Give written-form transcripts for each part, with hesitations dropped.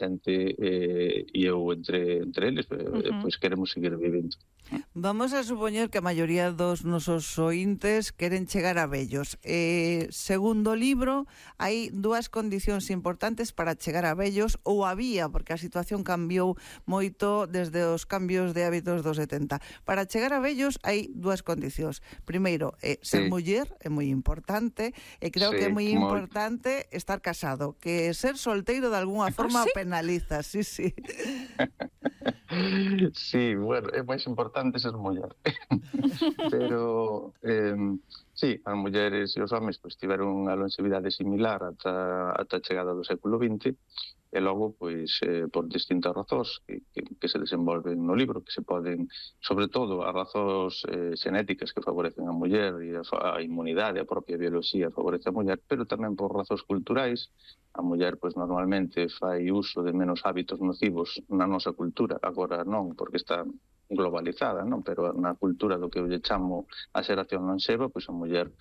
xente e eu entre eles, pois queremos seguir vivindo. Vamos a supoñer que a maioría dos nosos ointes queren chegar a vellos. Segundo o libro, hai dúas condicións importantes para chegar a vellos, ou había, porque a situación cambiou moito desde os cambios de hábitos dos 70. Para chegar a vellos hai dúas condicións. Primeiro, ser muller é moi importante, e creo que é moi importante estar casado, que ser solteiro de algunha forma penaliza, sí. Sí, bueno, é máis importante ser muller. Pero, sí, as mulleres e os homes pois tiveron unha longevidade similar ata a chegada do século XX, e logo, pois, por distintas razóns que se desenvolven no libro, que se poden, sobre todo, as razóns xenéticas que favorecen a muller e a inmunidade, a propia biología favorece a muller, pero tamén por razóns culturais. A muller, pois, normalmente fai uso de menos hábitos nocivos na nosa cultura, agora non, porque está globalizada, non? Pero na cultura do que eu lle chamo a xeración lonxeva, pois a muller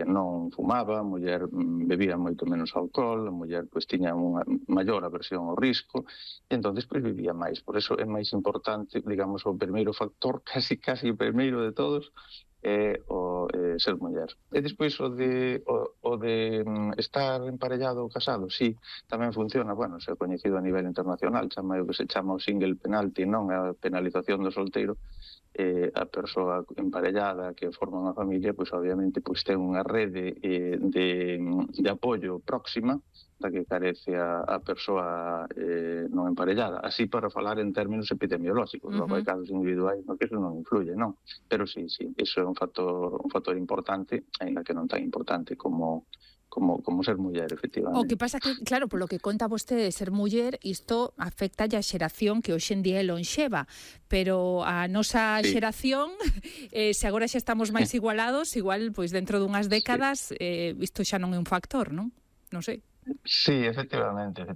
non fumaba, a muller bebía moito menos alcohol, a muller pois tiña unha maior aversión ao risco, e entón pois vivía máis. Por eso é máis importante, digamos, o primeiro factor, casi o primeiro de todos, é o ser muller. E despois o de estar emparellado ou casado, sí, tamén funciona, bueno, se é coñecido a nivel internacional, chama o que se chama o single penalty, non a penalización do solteiro. A persoa emparellada que forma unha familia, pois obviamente pois ten unha rede de apoio próxima da que carece a persoa non emparellada. Así para falar en términos epidemiolóxicos, logo hai casos individuais no que eso non influye, non? Pero sí, iso é un factor importante, aínda que non tan importante como ser muller, efectivamente. O que pasa que, claro, polo que conta vostede de ser muller, isto afecta a xeración que hoxe en día é lonxeva, pero a nosa xeración, se agora xa estamos máis igualados, igual, pois dentro dunhas décadas, isto xa non é un factor, non? Non sei. Sí, efectivamente.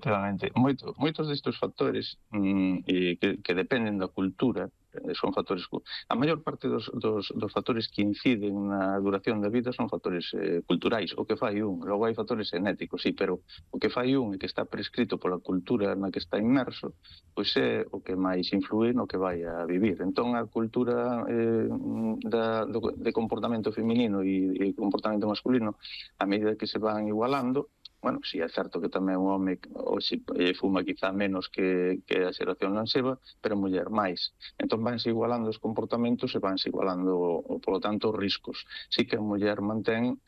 Moitos destes factores que dependen da cultura son factores... A maior parte dos factores que inciden na duración da vida son factores culturais, o que fai un. Logo hai factores genéticos, sí, pero o que fai un e que está prescrito pola cultura na que está inmerso, pois é o que máis influe no que vai a vivir. Entón, a cultura de comportamento feminino e comportamento masculino, a medida que se van igualando, bueno, si é certo que tamén o home hoxe fuma quizá menos que a xeración lonxeva, pero a muller máis. Entón vanse igualando os comportamentos e vanse igualando, polo tanto, os riscos. Si que a muller mantén,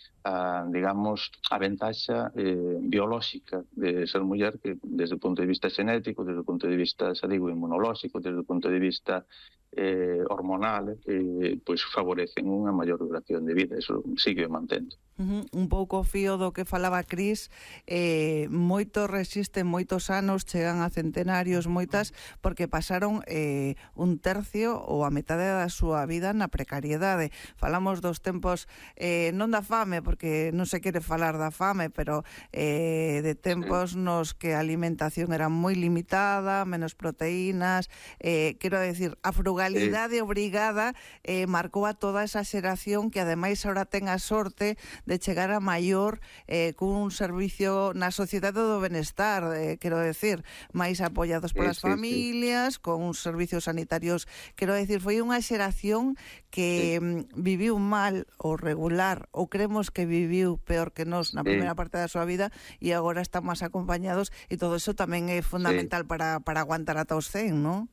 digamos, a ventaxa biolóxica de ser muller, que desde o punto de vista xenético, desde o punto de vista, xa digo, inmunolóxico, desde o punto de vista hormonal, pois favorecen unha maior duración de vida. Eso sigue mantendo. Un pouco fío do que falaba Cris, moitos resisten moitos anos, chegan a centenarios, moitas, porque pasaron un tercio ou a metade da súa vida na precariedade. Falamos dos tempos, non da fame, porque non se quere falar da fame, pero de tempos nos que a alimentación era moi limitada, menos proteínas, quero decir, a frugalidade obrigada marcou a toda esa xeración que ademais ahora ten a sorte de chegar a maior cun servicio na sociedade do benestar, quero decir, máis apoiados polas familias, con uns servicios sanitarios, quero decir, foi unha xeración que viviu mal ou regular, ou cremos que viviu peor que nós na primeira parte da súa vida, e agora están máis acompañados, e todo eso tamén é fundamental para aguantar ata os 100, non?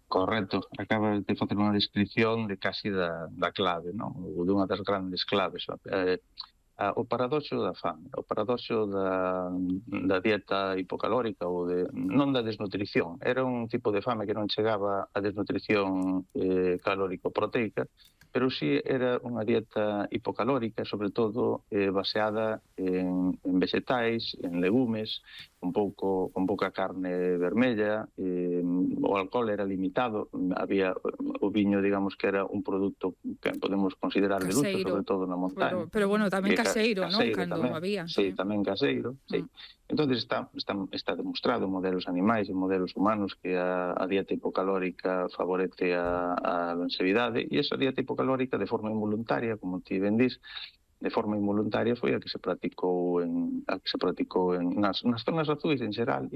Correcto, acabas de facer unha descripción de casi da clave, non? Ou dunha das grandes claves. O paradoxo da fame, o paradoxo da dieta hipocalórica ou non da desnutrición. Era un tipo de fame que non chegaba a desnutrición calórico-proteica, pero sí era unha dieta hipocalórica, sobre todo baseada en vegetais, en legumes, con pouca carne vermella, o alcohol era limitado, había o viño, digamos, que era un produto que podemos considerar de luxo, sobre todo na montaña. Pero bueno, tamén caseiro, non? Cando había. Sí, tamén caseiro, sí. Entón, está demostrado en modelos animais e modelos humanos que a dieta hipocalórica favorece a longevidade, e esa dieta hipocalórica, de forma involuntaria, como ti ben dís, de forma involuntaria foi a que se practicou nas zonas azuis en xeral